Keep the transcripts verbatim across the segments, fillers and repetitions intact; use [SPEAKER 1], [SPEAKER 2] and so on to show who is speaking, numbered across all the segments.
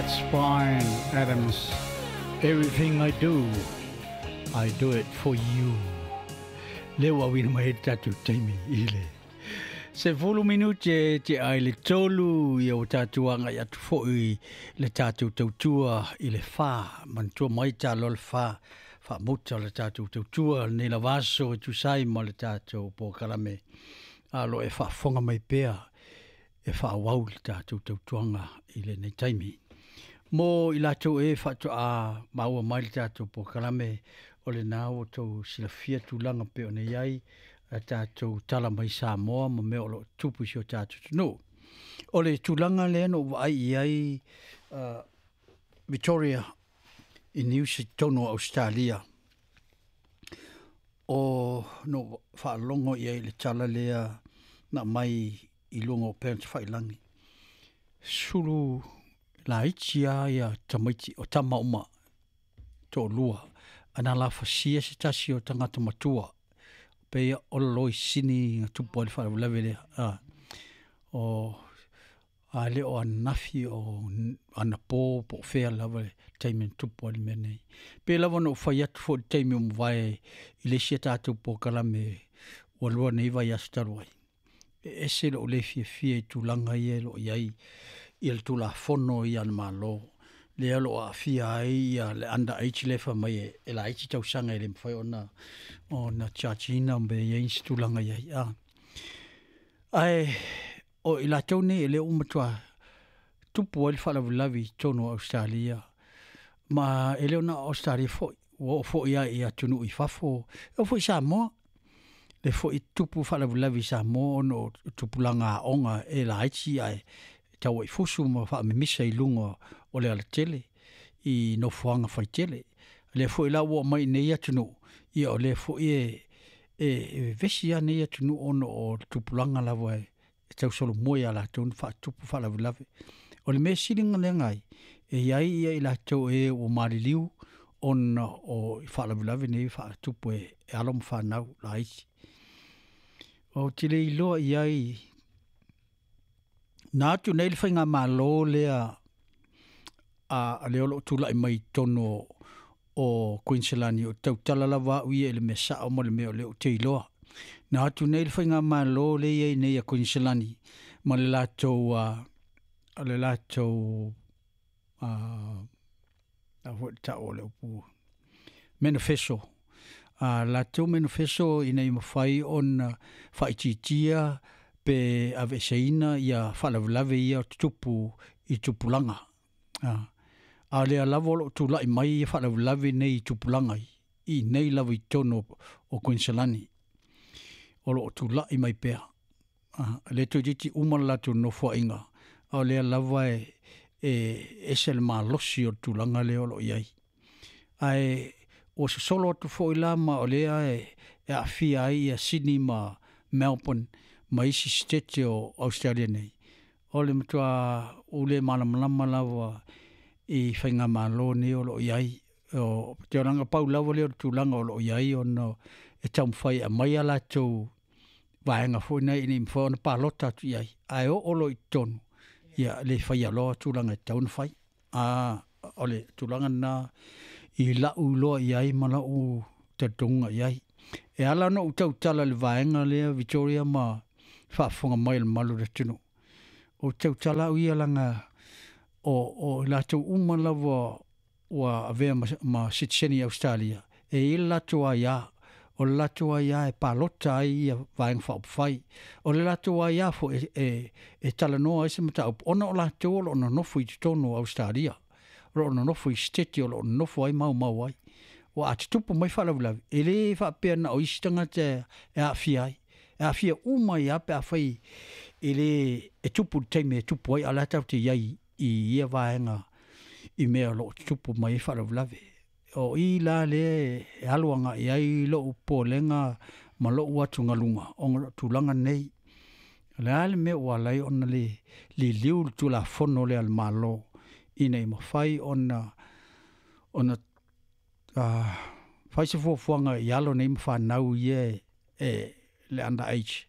[SPEAKER 1] That's Bryan Adams. Everything I do, I do it for you. Le ua auina mai ai le tatou taimi i le sefulu minute te ai le tolu, ia ua tatou agai atu foi le tatou tautua i le fa. Manatua mai talo le fa faamuta o le tatou tautua lenei lava aso e tusa ai ma le tatou polokalame. A o lo o e faafofoga mai pea e faaauau le tatou tautuaga i lenei taimi. Mo i latou e faatoa maua mai le tatou polokalame, o lena ua outou silafia tulaga pei ona i ai a tatou tala mai Samoa ma mea o lo o tupu i si o tatou atunuu. O le tulaga lea na ou vaai i ai uh, Victoria i news i totonu o Ausetalia, o na ou faalogo i ai i le tala lea na aumai i luga o upega tafailagi, sulu laiti lava ia tamaiti o tama uma toalua, ana lafasia se tasi o tagata matua, pei o le loisini na tupu ai le faalavelave lea. A o a le o ananafi o anapo po o fea lava le taimi na tupu ai le mea nei. Pei lava ona ou fai atu foi i le taimi ua mavae i le isi a tatou polokalame ua lua nei vaiaso talu ai, e ese lou le fiafia i tulaga ia e lo o i ai ia le Tulafono ia a le Malo lea o lo o aafia ai ia le under age lea e fai mai e laiti tausaga e le mafai ona ona charge ina pe i ai nisi tulaga i ai. A ae o i latou nei e le o matua tupu ai le faalavelave i totonu o Ausetalia, ma e le o na o Ausetalia foi, ua oo foi lava i atunuu i fafo, e oo foi i Samoa. Le foi tupu faalavelave i Samoa ona o tupulaga aoga e laiti ae tauaifusu ma faamimisa i luga o le alatele i nofoaga faitele. O lea foi la ua oo mai i nei atunuu, ia o lea foi e e vevesi lava nei atunuu ona o le tupulaga lava e tausolomua ia latou ona faatupu faalavelave. O le mea sili ona leaga ai, e i ai ia i latou e ua maliliu ona o faalavelave nei e faatupu e alo ma fanau laiti. Ou te le iloa i ai na atu nei le faigamalo lea a lea o lo o tulai mai i totonu o Kuiniselani, o tautala lava au ia i le mea sao ma le mea o lea ou te iloa. Na atu nei le faigamalo lea e i ai nei a Kuiniselani ma le latou le latou a foi le tau o le upu manifesto, a latou manifesto ina ia mafai ona faaitiitia pe aveeseina ia faalavelave ia o tutupu i tupulaga. A, a o lea lava o lo o tulai mai ia faalavelave nei i tupulaga i inei lava i totonu o Kuiniselani, o lo o tulai mai pea. A, lea toeitiiti uma le latou nofoaiga, a o lea lava e, e ese le malosi o le tulaga lea o lo o i ai. Ae ua sosolo atu foi la ma o lea e, e aafia ai ia Sydney ma Melbourne ma isi sitete o Australia nei. O le matua ou le malamalama lava i faigamalo nei o lo o i ai. O te olaga pau lava lea o le tulaga o lo o i ai ona e taumafai e aumai a latou vaega foi nei ina ia mafai ona palota atu i ai, ae oo loa i totonu, ia le faia loa tulaga e tatau ona fai. A o le tulaga lena i lau iloa i ai ma lau talitonuga i ai. E ala ona ou tautala i le vaega lea Victoria ma faafofoga mai a le mamalu o le atunuu, ou te tautala au ia leaga o, o i latou uma lava ua avea ma, ma sitiseni i Ausetalia, e i ai le latou aia, o le latou aia e palota ai ia Vaega Faaupufai, o le latou aia foi e, e, e talanoa ai se mataupu, ona o latou o lo o nonofo i totonu o Ausetalia, o lo o nonofo i siteti o lo o nonofo ai maumau ai. Ua a tutupu mai faalavelave, e le faapea na o isi tagata e aafia ai, e aafia uma ai lava pe afai e le e tupu i le taimi e tupu ai, a o le a tatou te i ai i ia vaega i mea o lo o tutupu mai ai faalavelave. O i la lea e alu agai ai lou popolega ma lou atugaluga ona o le tulaga nei. O le a le mea ua ala ai ona le liliu le Tulafono lea a le Malo ina ia mafai ona ona uh, fai se fuafuaga i alo nei ma fanau ia e, e le under age.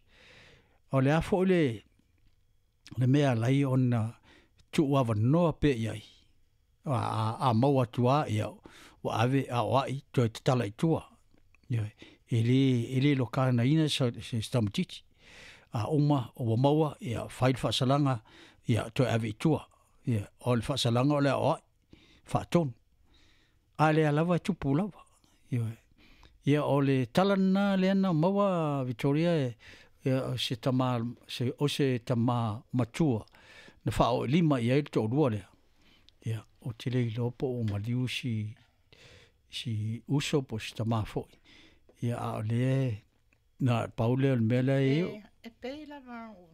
[SPEAKER 1] O le a foi le le mea e ala ai ona tuuavanoa pea i ai A a, a maua atu lava ia ua ave aoai toe tatala i tua. Ioe, e lē e lē loganaina se se tamaititi. A uma ua maua ia fai le faasalaga ia toe ave i tua. Ia o le faasalaga o le aoai faatonu. A lea lava e tupu lava. Ioe. Ia o le tala lena lea na maua Vitoria e ia o se tama se o se tama matua na faaoo i lima i ai le toalua lea. Ia ou te le iloa po ua maliu si si uso po o si tamā foi. Ia a o lea na pau lea o le mea la e
[SPEAKER 2] E, e pei lava o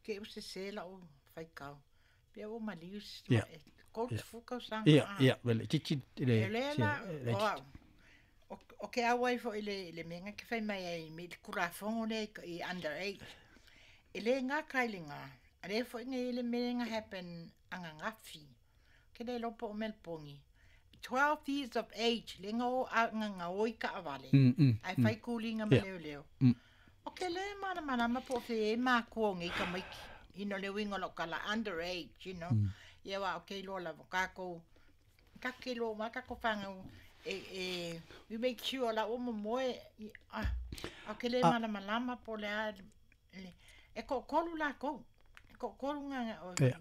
[SPEAKER 2] ke u se se lau faitau. Pe ua maliu si
[SPEAKER 1] Ia.
[SPEAKER 2] e tolu
[SPEAKER 1] Ia.
[SPEAKER 2] tekolu tausaga.
[SPEAKER 1] Ia,
[SPEAKER 2] Ah.
[SPEAKER 1] ia, vele titi le
[SPEAKER 2] E le
[SPEAKER 1] se
[SPEAKER 2] la,
[SPEAKER 1] le
[SPEAKER 2] o
[SPEAKER 1] titi.
[SPEAKER 2] au, o, o ke au ai foi le, le mea ke fai mai ai me le kulafono le i under age. E le ngā kai le ngā. A le foi ngai le mea nga happen anga ngafi. Ke le lopo o melpongi. twelve years of age, le nga o a nga nga oi ka avale.
[SPEAKER 1] Mm, mm,
[SPEAKER 2] Ai
[SPEAKER 1] mm.
[SPEAKER 2] fai kulinga ma
[SPEAKER 1] Ia.
[SPEAKER 2] leo leo.
[SPEAKER 1] Mm.
[SPEAKER 2] O ke le mana mana ma po fe e ma kuo ngi ka maiki. You know, le wingo lo kala underage, you know.
[SPEAKER 1] Mm.
[SPEAKER 2] Ia wa o ke lo la ka ko ka ke lo ma ka ko whanga e e we make sure la o mo moe i- ah o ke le
[SPEAKER 1] Ah.
[SPEAKER 2] mana malama po le a le e ko kolu la ko e ko kolu nga nga o
[SPEAKER 1] Ia.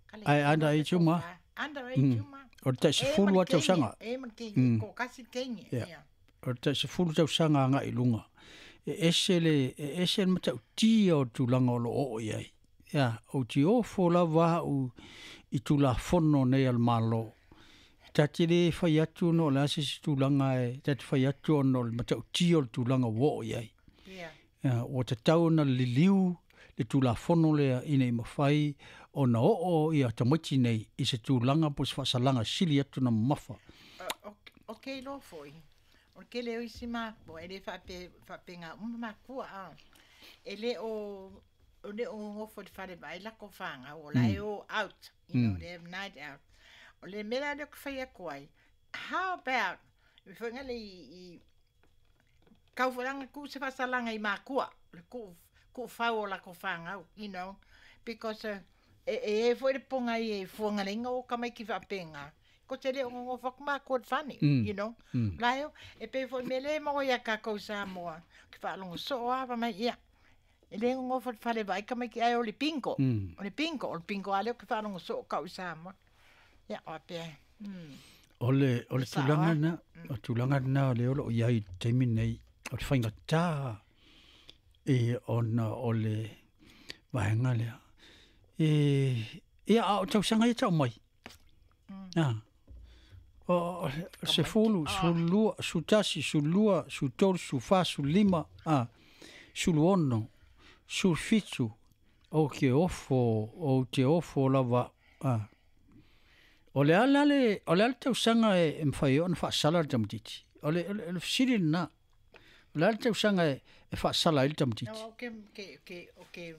[SPEAKER 2] ka le
[SPEAKER 1] Ai underage uma.
[SPEAKER 2] Underage
[SPEAKER 1] Mm.
[SPEAKER 2] uma.
[SPEAKER 1] O le taisefulu lava tausaga.
[SPEAKER 2] E ma ke
[SPEAKER 1] Mm.
[SPEAKER 2] ko kasi kenge.
[SPEAKER 1] Ia.
[SPEAKER 2] Ia.
[SPEAKER 1] O le taisefulu tausaga agai i luga. E ese le e ese le matautia o le tulaga o loo oo i ai. Ia, ou te ofo lava au i tulafono nei a le Malo. Ta te lē fai atu ona o le a se isi tulaga e ta te fai atu ona o le matautia o le tulaga ua oo i ai.
[SPEAKER 2] Ia.
[SPEAKER 1] Ia, ua tatau ona liliu le tulafono lea ina i mafai ona oo ia tamaiti nei i se tulaga po o se faasalaga sili atu na mamafa.
[SPEAKER 2] O, o ke lo foi. O ke le isi ma po e le fa pe fa pe nga uma ma kua a. E le o o le o ngofo le fale vai la ko whanga o la e o out, you know,
[SPEAKER 1] Mm.
[SPEAKER 2] they have night out. O le mea le ko whai ako ai. How about i whainga le i, i kauwharanga ku se whasalanga i makua, le ku, ku whau o la ko whanga, you know, because uh, e e e foi le ponga i e fuanga lenga o kamai ki whapenga. Ko te leo ngongo whaku makua le whane,
[SPEAKER 1] Mm.
[SPEAKER 2] you know.
[SPEAKER 1] Mm.
[SPEAKER 2] La eo, e pe foi me le mo ia kakou Samoa. Ki whaalongo so a mai ia. E le ngongo whale whale vai kamai ki ai o le pingo.
[SPEAKER 1] Mm.
[SPEAKER 2] O le pingo, o le pingo ale o ki whaalongo so kau Samoa. Ia, o pe. Mm.
[SPEAKER 1] O le o le
[SPEAKER 2] Sao,
[SPEAKER 1] tulaga
[SPEAKER 2] ah.
[SPEAKER 1] lena, o le tulaga lena o lea o loo i ai i le taimi nei, o le faigatā e ona o le vaega lea. E ia a o tausaga ia tau mai.
[SPEAKER 2] Mm.
[SPEAKER 1] Ah. O o sefulu, sefululua, sefulutasi, sefululua, sefulutolu, sefulufa, sefululima, a sefuluono, sefulufitu, ou ke ofo, ou te ofo lava. A. O le a la le o le a le tausaga e e mafai ai ona faasala le tamaititi. O le o le o le fesili lena. O le a le tausaga e e faasala ai le tamaititi.
[SPEAKER 2] No, ke ke ke o ke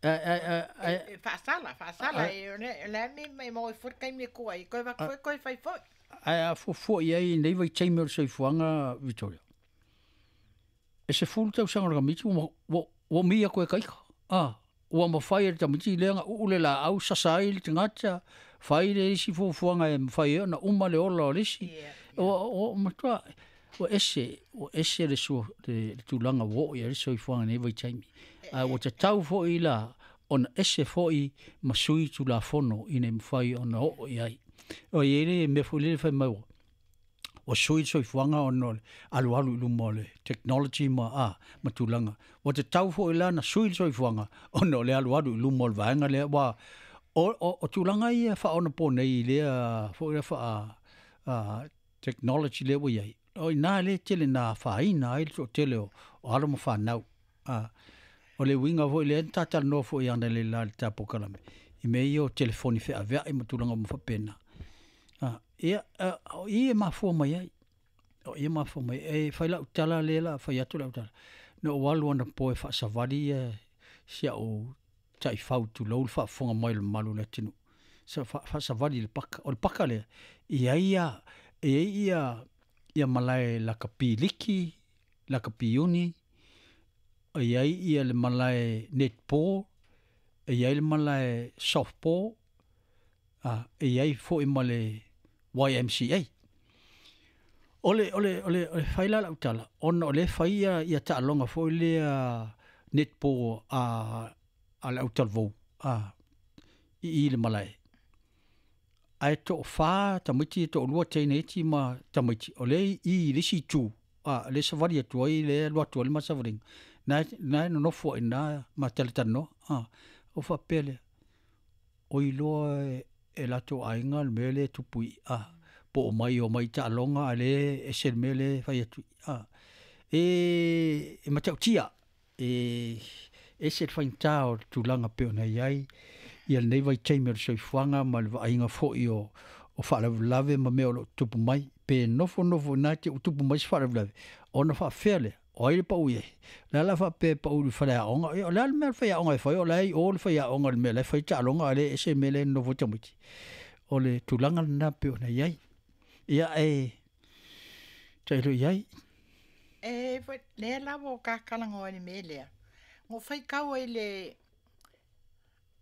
[SPEAKER 1] A a a a
[SPEAKER 2] e whaasala, whaasala e o le me me mo i fut kai me kua i koe wak koe whai foi.
[SPEAKER 1] Ae a fuafua i ai nei vaitaimi o le soifuaga Vitoria. E sefulu tausaga o le tamaiti ua ua ua mia koe kaika. A, ua mafai e le tamaiti lea na uu le laau sasa ai le tagata, fai le isi fuafuaga e mafai ai ona uma le ola o le isi.
[SPEAKER 2] Ia.
[SPEAKER 1] Ua ua matua ua ese ua ese le sua le, le tulaga ua oo i ai le soifuaga nei vaitaimi. Ae ua tatau foi la ona ese foi ma sui tulafono ina ia mafai ona oo i ai. O i ai le mea foi lele fai mai ua ua sui le soifuaga ona o le alualu i luma o le technology ma a ma tulaga. Ua tatau foi la na sui le soifuaga ona o le alualu i luma o le vaega lea ua o o, o tulaga ia faaonapo nei i lea foi lea faa a, technology lea ua i ai. O ina le tele na faaina ai le toatele o, o alo ma fanau. A, o le uiga foi lea na tatalanoa foi ana le la le tapokalame. I mea ia o telefoni feaveai ma tulaga uma faapena. A, ia, a, o i e mafua mai ai. O i e mafua mai. E fai lau tala lea la, fai atu lau tala. Na ou alu anapo e faasavali ia si au taifau tulou le faafofoga mai o le mamalu o le atunuu. Sa faasavali i le paka. O le paka lea, e i ai ia, e i ai ia, ia malae lakapi liki, lakapi uni, e i ai ia le malae netball, e i ai le malae softball, A e iai fo'i ma le Y M C A. O le, o le, o le, o le fai la lau tala, ona o le fai ia, ia taaloga foi lea netball a, a le autalavou, a, i i le malae. Ae to'afā tamaiti e to'alua teine iti ma tamaiti, o lea i i le isi itu, a, le savali atu ai le alu atu ai le ma savaliga, na, na e nonofo ai ina ma talatalanoa, a, o faapea lea, o iloa e, e latou aiga le mea lea e tupu i, a, po o mai o mai taaloga a le ese le mea lea e fai atu i, a, e, e matautia, e, ese le faigata o le tulaga pei ona iai ia lenei vaitaimi o le soifuaga ma le vaaiga fo'i o, o faalavelave ma mea o loo tutupu mai, pe nofonofo ina te utupu mai se faalavelave, ona faafefea lea, o ai le pau i ai, le ala faapea e pau i le faleaoga, ia o le a le mea le faiaoga e fai, o la e i o le faiaoga i le mea la e fai taaloga a le ese le mea lea e nonofo ai tamaiti. O le tulaga lena pei ona iai. Ia e tailo i ai.
[SPEAKER 2] E foi lea lava o kakalagoa i le mea lea. Ua faitau ai le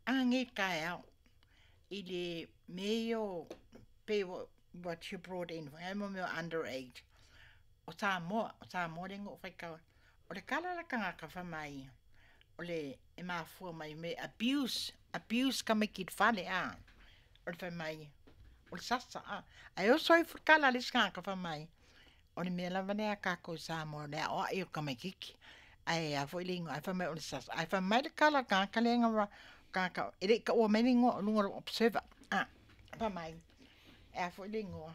[SPEAKER 2] agagei taeao i le mea ia o pei what you brought in, ai mo mea o underage. O Samoa, o Samoa lea na ou faitau ai. O le tala a le tagata fai mai, o le e mafua mai me abuse, abuse tamaiti i le fale a. O le fai mai, o le sasa a. Ae oso ai foi le tala a le isi tagata fai mai, o le mea lava lea a tatou i Samoa, o le aoai o le tamaititi. Ae a foi le igoa, ae fai mai o le sasa. Ae fai mai le tala a le tagata lea na tagata, e le i taua mai le igoa o luga o lou observer. A, fai mai, e a foi le igoa.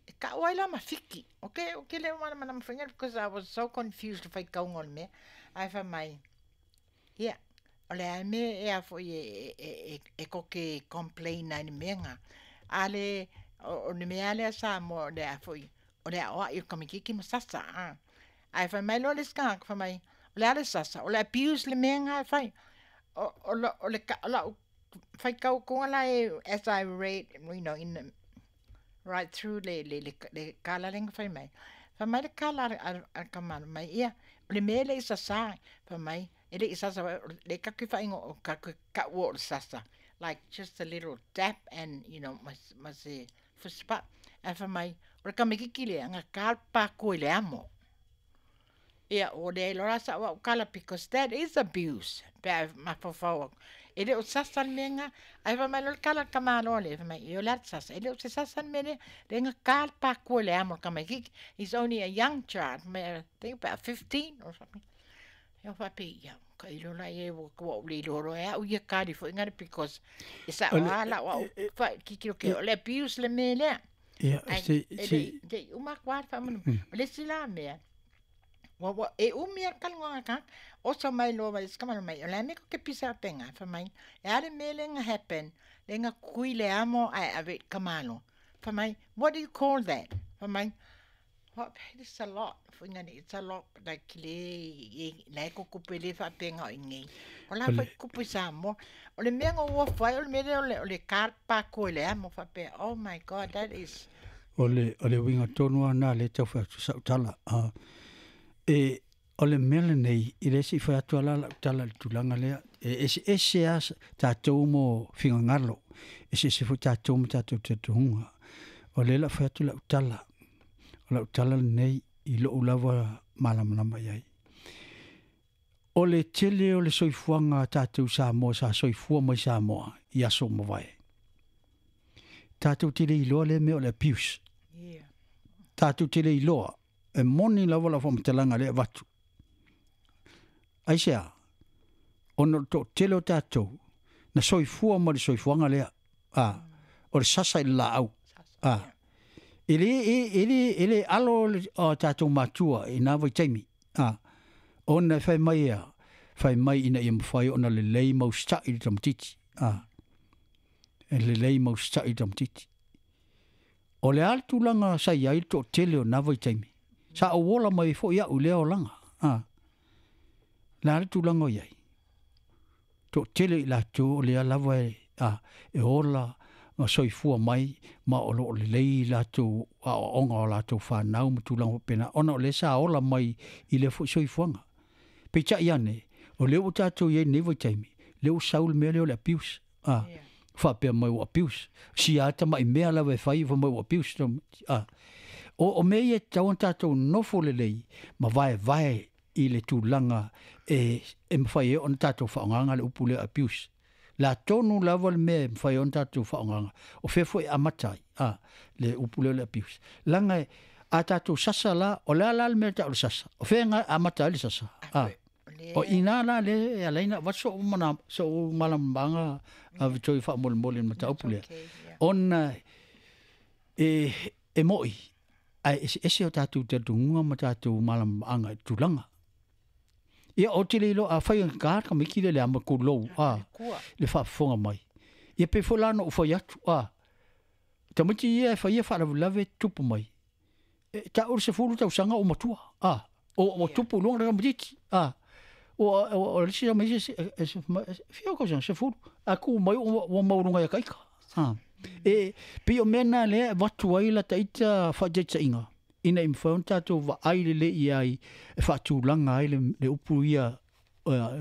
[SPEAKER 2] E tau ai la ma Fiti. Okay, okay le malamalama foi because I was so confused le faitauga o le mea. Ae fai mai, ia, o le a mea e a foi e, e, e, e koke complain ai le mea nga. A le, o, o le mea lea Samoa, o le a foi, o le aoai o le tamaititi ma sasa. A. Ae fai mai loa le isi tagata, fai mai, o le a le sasa, o le abuse le mea nga e fai. O, o, o, o le ka, o lau faitau atuga la e, as I read, you know, in the, right through le, le, le, le kala lea na fai mai. Fai mai le kala a, a, a kamalo mai, ia, o le mea e le i sasa, fai mai, e le i sasa, le tatou faaigoa o tatou taua o le sasa. Like just a little tap and, you know, ma, ma se fist bump. Ae fai mai, o le tamaititi lea, na ta le patua i le amo. Ia, ua leai loa la sa'u au tala because that is abuse pe a mafaufau atu. E le o sasa le mea lena, ae fai mai loa le tala a le tamaloa lea, fai mai, ia o le a le sasa, e le o se sasa le mea lea, lea na ta le patua i le amo o le tamaititi. He's only a young child, fai mai, I think about fifteen or something. Ia faapea, ia, tailo la ia ua ou le iloa loa e au ia tali foi ngale because e sa'o lava lau au tilotilo ke o le abuse le mea lea.
[SPEAKER 1] Ia,
[SPEAKER 2] Ae
[SPEAKER 1] se,
[SPEAKER 2] e
[SPEAKER 1] se,
[SPEAKER 2] le i uma atu lava le faamolemole. O le isi la mea, ua ua e umi lava le talanoaga a tagata. Oso mai loa ma le isi tamaloa mai, o le a mea tou te pisa faapena? Fai mai, e a le mea lea na happen, lea na tui le amo ae ave i le tamaloa. Fai mai, what do you call that? Fai mai, what, it's a lot. Foi ngani, it's a lot, like le, e, la e tutupu e le faapena o i nei. O la foi tutupu i Samoa. O le mea na ou ofo ai, o le mea lea o le, o le ta le patua i le amo faapea, oh my God, that is...
[SPEAKER 1] O le, o le uiga tonu lava lena lea e tau fai atu sa'u tala. A, e, o le mea lenei, i le se i fai atu lava la lau tala i le tulaga lea, e eseese lava tatou mo finagalo, eseese foi tatou ma tatou talitonuga. O lea o le a fai atu lau tala, o lau tala lenei i lou lava malamalama i ai. O le tele o le soifuaga a tatou Samoa sa soifua mai Samoa i aso ua mavae, tatou te le iloa lea mea o le abuse.
[SPEAKER 2] Yeah.
[SPEAKER 1] Tatou te le iloa, e moni lava lau faamatalaga lea e avatu. Aisea, ona o le toatele o tatou na soifua ma le soifuaga lea, a, o le sasa i le laau. A, e le, e, e le, e le alo le o tatou matua i na vaitaimi. A, ona e fai mai a, fai mai ina ia mafai ona lelei ma usitai le tamaititi. A, e lelei ma usitai le tamaititi. O le a le tulaga sa i ai le toatele o na vaitaimi? Sa ou ola mai foi au i lea olaga. A, le a le tulaga o i ai? Toatele i latou o lea lava e, a, e ola ma soifua mai ma o loo lelei latou aoaoga o latou fanau ma tulaga faapena, ona o lea sa ola mai i lea foi soifuaga. Peitai ane, o lea ua tatou i ai i lenei vaitaimi, lea ua sau le mea lea o le abuse. A,
[SPEAKER 2] Yeah.
[SPEAKER 1] Faapea mai ua abuse. Si a tama'i mea lava e fai fai mai ua abuse. A. O, o mea ia e tatau ona tatou nofo lelei ma vaevae i le tulaga e, e mafai ai ona tatou faaaogaga le upu lea abuse. La tonu lava le mea e mafai ai ona tatou faaaogaga. O fea foi e amata ai, a, le upu lea o le abuse. Leaga a tatou sasa la, o le a la le mea e tau o le sasa? O fea e amata ai le sasa? A. O i ina la lea e ala ai ona avatu so'u mana so'u malamalamaga a Victoria faamolemole i le mataupu lea. Ona e e mo'i ae eseese o tatou talitonuga ma tatou malamalamaaga i le tulaga. Ia ou te le iloa afai e gagā le tamaiti lea i le ama tulou a le faafofoga mai. Ia pei foi la ona ou fai atu a tamaiti ia e faia faalavelave e tutupu mai. E tau le sefulu tausaga o matua a o ua tupu i luga le tamaitiiti a ua o le isi tamaiti fia o tausaga sefulu ae tu mai ua maualuga ia ta ita a e pei o mea na lea e avatu ai lata ita faataitaiga ina ia mafai ona tatou vaai lelei i ai e faatulaga ai le, le upu ia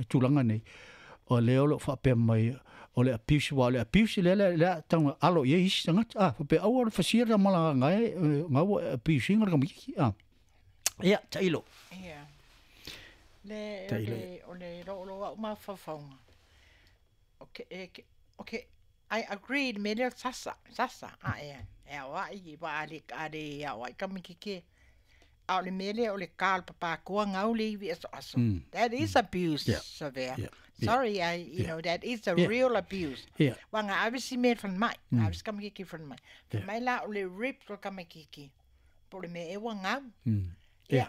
[SPEAKER 1] tulaga nei o lea o lo o faapea mai o le abuse aua o le abuse lea lea lea tau alo i ai isi tagata a faapea aua le fasia le malagaga e ga ua abuse ina le tamaitiiti a ia tailo.
[SPEAKER 2] Ia le o le o le loo au mafaufauga okay e okay I agree le mea lea o le sasa sasa a e e aoai i waa le a le aoai tamaititi a o le mea lea o le ka o le papakoa gau le ivi asoaso. That is abuse.
[SPEAKER 1] Yeah.
[SPEAKER 2] Savea.
[SPEAKER 1] Yeah. Yeah.
[SPEAKER 2] Sorry, I you
[SPEAKER 1] Yeah.
[SPEAKER 2] know that is a
[SPEAKER 1] Yeah.
[SPEAKER 2] real abuse.
[SPEAKER 1] Yeah.
[SPEAKER 2] Ua na ave si mea i le falemai, na ave si tamaititi i le falemai.
[SPEAKER 1] Yeah.
[SPEAKER 2] Fai mai la o le ribs o le tamaititi po o le mea ea ua gau.
[SPEAKER 1] Mm.
[SPEAKER 2] Yeah.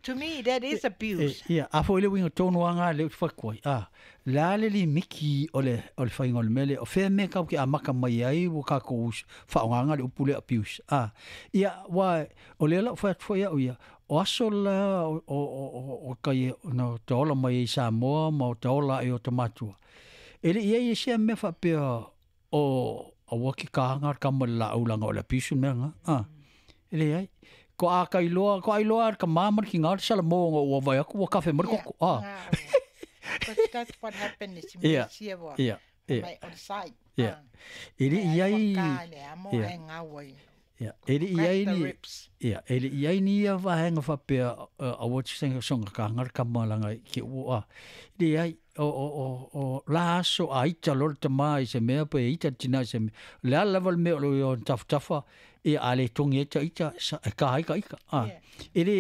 [SPEAKER 2] To me that is abuse.
[SPEAKER 1] E, ia, a foi le uiga tonu lava lena lea ou te fai atu ai, a, le a le limiki o le, o le faiga o le mea lea, o fea mea tatou te amata mai ai ua tatou faaaogaina le upu lea abuse, a. Ia, aua o lea la ua fai atu foi au ia, o aso la o, o, o, o tai na ota ola mai ai i Samoa ma ota ola ai i ota matua, e le i i ai sea mea faapea o aua ke kāga le kama i le laau leaga o le abuse le mea lena, a. E leai. Ko a ka iloa, ko a iloa le tama ma le kina le salamo ona ua vaai atu ua kafe mai le
[SPEAKER 2] Yeah,
[SPEAKER 1] koko, a.
[SPEAKER 2] na, but that's what happened i si mea
[SPEAKER 1] Ia,
[SPEAKER 2] sia ua
[SPEAKER 1] ia, ia.
[SPEAKER 2] mai on site.
[SPEAKER 1] Ia.
[SPEAKER 2] Ah.
[SPEAKER 1] E le i
[SPEAKER 2] Ai
[SPEAKER 1] ai,
[SPEAKER 2] ua ka le amo
[SPEAKER 1] ia.
[SPEAKER 2] ai ngau ai.
[SPEAKER 1] Ia, e le i
[SPEAKER 2] Crack
[SPEAKER 1] ai
[SPEAKER 2] the
[SPEAKER 1] ni,
[SPEAKER 2] ribs.
[SPEAKER 1] ia, e le i ai ni ia vaega faapea, aua te soga kāga le kama leaga ke ua, a. Leai, o, o, o, o la aso a ita loa le tama i se mea pe ita le tina i se mea. O le a lava le mea o lo o tafatafa, ia a le togi ai ta ita, sa, e ka ai ka ika. A.
[SPEAKER 2] Yeah.
[SPEAKER 1] E le,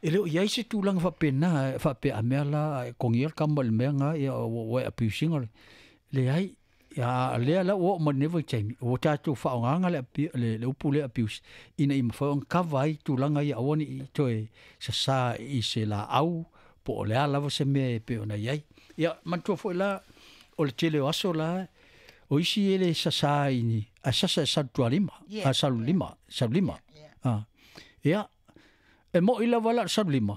[SPEAKER 1] e le o i ai se tulaga faapena, faapea a mea la, e kogia le kama i le mea nga, ia, ua, ua e abuse ina le. Leai, ia, lea la ua oo mai lenei vaitaimi, ua tatou faaaogaga le, le, le upu lea abuse, ina ia mafai ona kava ai tulaga ia aua ne i toe sasā i se laau, po o le a lava se mea e pei ona i ai. Ia, manatua foi la, o le tele o aso la, o isi e le sasā i ni, ae sasa e salu tualima,
[SPEAKER 2] Yeah.
[SPEAKER 1] a salu lima, salu lima.
[SPEAKER 2] Yeah.
[SPEAKER 1] A. Ia, e mo'i lava la o le salu lima,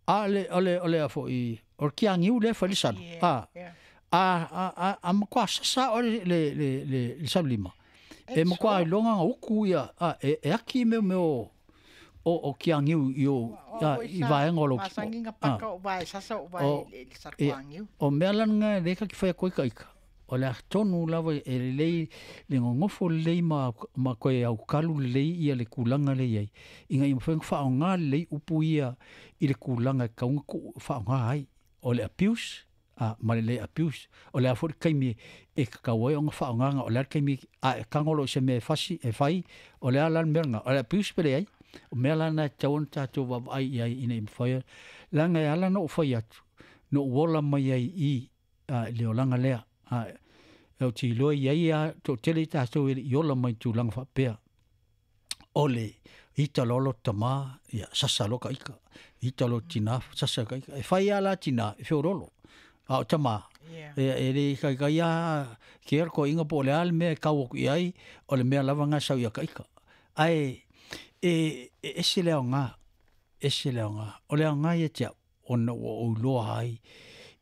[SPEAKER 1] a le, o le, o le a foi, o le kiagiu lea e fai le salu.
[SPEAKER 2] Yeah.
[SPEAKER 1] A,
[SPEAKER 2] Yeah.
[SPEAKER 1] a, a, a, a matua sasa oe le, le, le, le, le salu lima. E
[SPEAKER 2] It's
[SPEAKER 1] matua
[SPEAKER 2] hot.
[SPEAKER 1] iloga ona uku ia, a, e, e aki mea mea o, o, o kiagiu i o, a, i vaega o lou kimo.
[SPEAKER 2] Masangi
[SPEAKER 1] A.
[SPEAKER 2] paka o vai sasa o vai
[SPEAKER 1] O,
[SPEAKER 2] le
[SPEAKER 1] ia,
[SPEAKER 2] sarkuangiu.
[SPEAKER 1] o mea la lena lea ta te fai atu ai ka ika, o le a tonu lava e lelei le gogofo lelei ma, ma toe aukalu lelei ia le tulaga lea i ai, ina ia mafai ona faaaoga lelei upu ia i le tulaga e tatau ona tuu faaaoga ai. O le abuse, a, ma le le abuse. O le a foi le taimi e tatau ai ona faaaogaina, o le a le taimi a e tago loa i se mea e fasi, e fai, o le a la le mea lena, o le abuse pe leai. O mea la na e tatau ona tatou vaavaai i ai ina ia mafai ona, leaga e ala ona ou fai atu, na ou ola mai ai i i le olaga lea. A, ou te iloa i ai lava toatele i tatou e le i ola mai i tulaga faapea. O le ita loa lo tama, ia sasa loa ka ika. Ita loa tina, sasa ka ika. E fai lava la tina, e feoloolo. A o tama,
[SPEAKER 2] Yeah.
[SPEAKER 1] e, e le ikaika ia ke ero koiga po o le a le mea e kau atu i ai, o le mea lava lena e sau ia ka ika. Ae e, e ese le aoga, ese le aoga. O le aoga ia te au, ona ua ou iloa ai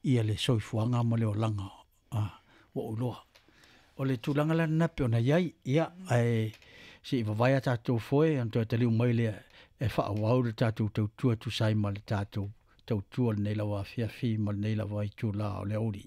[SPEAKER 1] ia le soifuaga ma le olaga, a, ua ou iloa. O le tulaga la lena pei ona i ai, ia, ae se i vavae a tatou foe ona toe taliu mai lea e faaauau le tatou tautua e tusa ai ma le tatou tautua i lenei lava afiafi ma lenei lava itula o le aoauli.